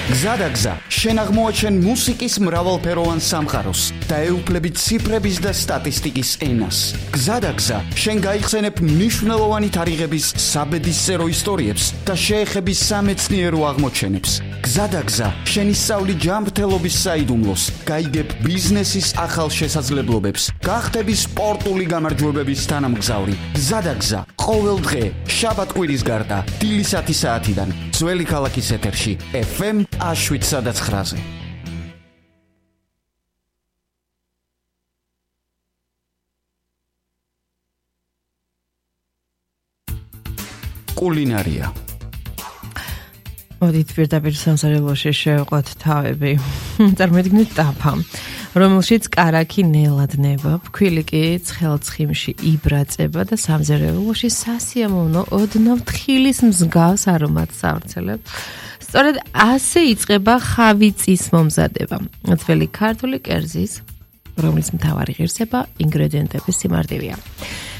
გზადაგზა, შენ აღმოაჩენ მუსიკის მრავალფეროვან სამყაროს და ეუფლები ციფრების და სტატისტიკის ენას. გზადაგზა, შენ გაიხსენებ მნიშვნელოვანი თარიღების საბედისწერო ისტორიებს და შეეხები სამეცნიერო აღმოჩენებს. გზადაგზა, შენ ისწავლი ჯანმრთელობის საიდუმლოს, გაიგებ ბიზნესის ახალ შესაძლებლობებს, გახდები სპორტული გამარჯვებების თანამგზავრი. გზადაგზა, ყოველ დღე, შაბათ-კვირის გარდა, დილის 10 საათიდან, ძველი ქალაქის ეთერში, FM 7-9-ზე. კულინარია. მოდით პირდაპირ სამზარეულოში შევყოთ თავები. წარმოიდგინეთ ტაფა, რომელშიც კარაქი ნელადნება, ფქვილი კი ცხელცხიმში იბრაწება და სამზარეულოში სასიამოვნო ოდნავ თხილის მსგავს არომატს ავრცელებს. სწორედ ასე იწყება ხავიწის მომზადება. ძველი ქართული კერძის, რომლის მთავარი ღირსება ინგრედიენტების სიმარტივეა.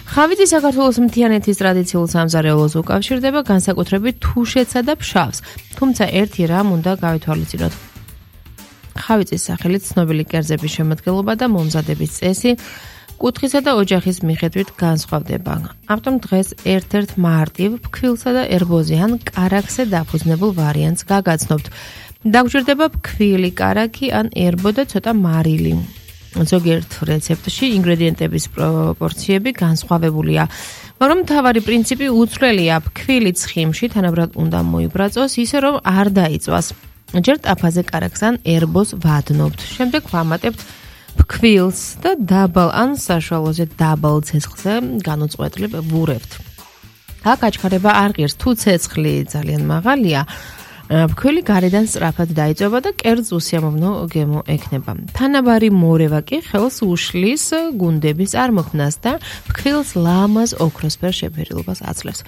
ხავიწი საქართველოს მთიანეთის ტრადიციულ სამზარეულოს უკავშირდება განსაკუთრებით თუშეთსა და ფშავს, თუმცა ერთი რამ უნდა გავითვალისწინოთ. ხავიწის სახელით ცნობილი კერძების შემადგენლობა და მომზადების წესი კუთხისა და ოჯახის მიხედვით განსხვავდება. ამიტომ დღეს ერთ-ერთ მარტივ, ფქვილსა და ერბოზიან კარაქზე დაფუძნებულ ვარიანტს გაგაცნობთ. დაგვჭირდება ფქვილი კარაქი ან ერბო და ცოტა მარილი. ზოგიერთ რეცეპტში ინგრედიენტების პროპორციები განსხვავებულია, მაგრამ მთავარი პრინციპი უცვლელია. ფქვილი ცხიმში თანაბრად უნდა მოიბრაწოს, ისე რომ არ დაიწვას. ჯერ ტაფაზე კარაქს ან ერბოს ვადნობთ. შემდეგ ვამატებთ ფქვილს და დაბალ ან საშუალოზე დაბალ ცეცხლზე განუწყვეტლივ ვურევთ. აქ აჩქარება არ ღირს, თუ ცეცხლი ძალიან მაღალია, ფქვილი გარედან სწრაფად დაიწვება და კერძს უსიამოვნო გემო ექნება. თანაბარი მორევა კი ხელს უშლის გუნდების წარმოქმნას და ფქვილს ლამაზ ოქროსფერ შეფერილობას აძლევს.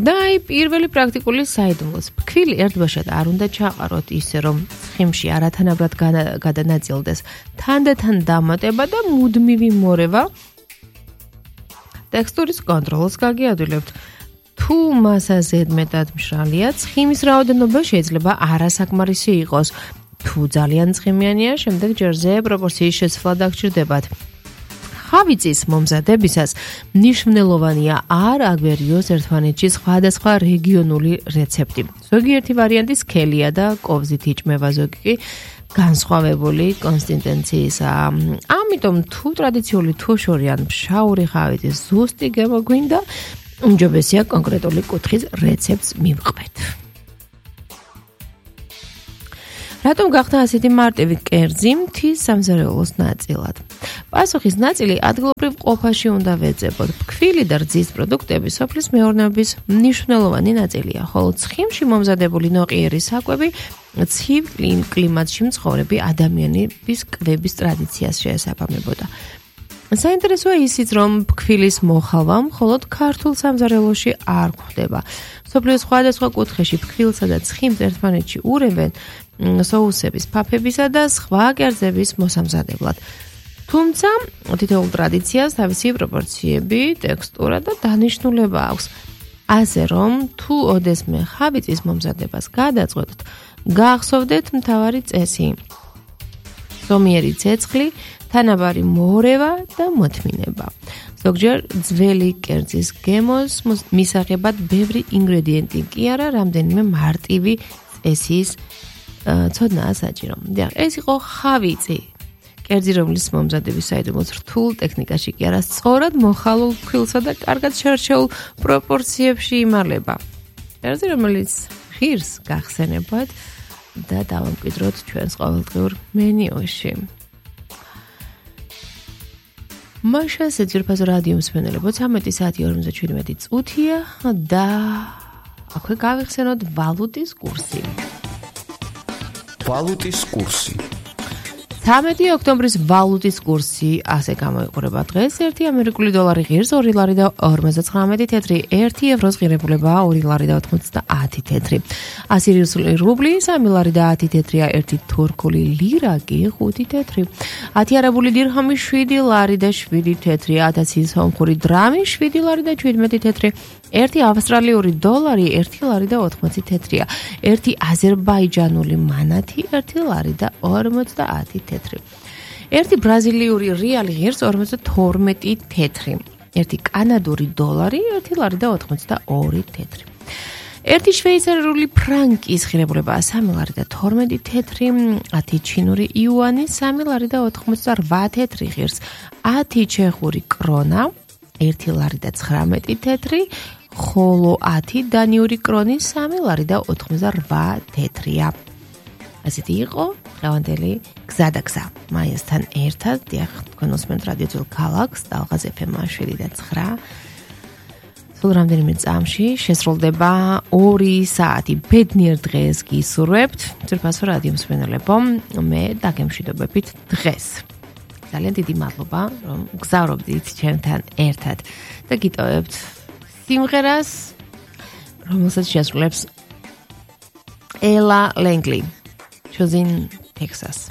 და აი პირველი პრაქტიკული საიდუმლოს. ფქვილი ერთბაშად არ უნდა ჩაყაროთ ისე, რომ ცხიმში არათანაბრად გადანაწილდეს. თანდათან დამატება და მუდმივი მორევა ტექსტურის კონტროლს გაგიადვილებთ. თუ მასა ზედმეტად მშრალია, ცხიმის რაოდენობა შეიძლება არასაკმარისი იყოს. თუ ძალიან ცხიმიანია, შემდეგ ჯერზე პროპორციის შეცვლა დაგჭირდებათ. ხავიწის მომზადებისას მნიშვნელოვანია არ აგვერიოს ერთმანეთში სხვადასხვა რეგიონული რეცეპტი. ზოგიერთი ვარიანტი სქელია და კოვზით იჭმება, ზოგი კი განსხვავებული კონსისტენციისაა. ამიტომ თუ ტრადიციული თუშური ან ფშაური ხავიწის ზუსტი გემო გვინდა, უმჯობესია კონკრეტული კუთხის რეცეპტს მივყვეთ. რატომ გახდა ასეთი მარტივი კერძი მთის სამზარეულოს ნაწილად? პასუხის ნაწილი ადგილობრივ ყოფაში უნდა ვეძებოთ. ფქვილი და რძის პროდუქტები სოფლის მეურნეობის მნიშვნელოვანი ნაწილია, ხოლო ცხიმში მომზადებული ნოყიერი საკვები ცივ კლიმატში მცხოვრები ადამიანების კვების ტრადიციას შეესაბამებოდა. საინტერესოა ისიც, რომ ფქვილის მოხალვა მხოლოდ ქართულ სამზარეულოში არ გვხვდება. მსოფლიოს სხვადასხვა კუთხეში ფქვილსა და ცხიმს ერთმანეთში ურევენ სოუსების, ფაფებისა და სხვა კერძების მოსამზადებლად. თუმცა თითოეულ ტრადიციას თავისი პროპორციები, ტექსტურა და დანიშნულება აქვს. ასე რომ, თუ ოდესმე ხავიწის მომზადებას გადაწყვეტთ, გახსოვდეთ მთავარი წესი: ზომიერი ცეცხლი, თანაბარი მორევა და მოთმინება. ზოგჯერ ძველი კერძის გემოს მისაღებად ბევრი ინგრედიენტი კი არა, რამდენიმე მარტივი წესის ცოდნაა საჭირო. ეს იყო ხავიწი, კერძი, რომლის მომზადების საიდუმლოს რთულ ტექნიკაში კი არა, სწორად მოხალულ ფქვილსა და კარგად შერჩეულ პროპორციებში იმალება. კერძი, რომელიც ღირს გახსენებათ და დავამკვიდროთ ჩვენს ყოველდღიურ მენიუში. მაშა საძირფაზო რადიო მსმენელებო, 13 საათი 47 წუთია და აქვე გავიხსენოთ ვალუტის კურსი. ვალუტის კურსი. 13 ოქტომბრის ვალუტის კურსი ასე გამოიყურება დღეს. 1 ამერიკული დოლარი ღირს 2 ლარი და 59 თეთრი, 1 ევროს ღირებულება 2 ლარი და 90 თეთრი. 100 რუბლი 3 ლარი და 10 თეთრია, 1 თურქული ლირა კი 5 თეთრი. 10 არაბული დირჰამი 7 ლარი და 7 თეთრი, 1000 სომხური დრამი 7 ლარი და 17 თეთრი. 1 ავსტრალიური დოლარი 1 ლარი და 80 თეთრია, 1 აზერბაიჯანული მანათი 1 ლარი და 50 თეთრი. 1 ბრაზილიური რეალი ღირს 52 თეთრი, 1 კანადური დოლარი 1 ლარი და 82 თეთრი. 1 შვეიცარიული ფრანკის ღირებულება 3 ლარი და 12 თეთრი, 10 ჩინური იუანი 3 ლარი და 88 თეთრი ღირს, 10 ჩეხური კრონა 1 ლარი და 19 თეთრი, ხოლო 10 დანიური კრონი 3 ლარი და 88 თეთრია. ასეთი იყო დღევანდელი გზადაგზა მაიასთან ერთად. დიახ, თქვენ უსმენთ რადიო ძველ ქალაქს, ტალღაზ FM 7 და 9. სულ რამდენიმე წამში შესრულდება 2 საათი ბედნიერ დღეს გისურვებთ. ძვირფასო რადიო მსმენელებო, მე დაგემშვიდობებით დღეს. ძალიან დიდი მადლობა, რომ გზავრობდით ჩემთან ერთად და გიტოვებთ სიმღერას, რომელსაც შეასრულებს ელა ლენგლი, Choosing Texas.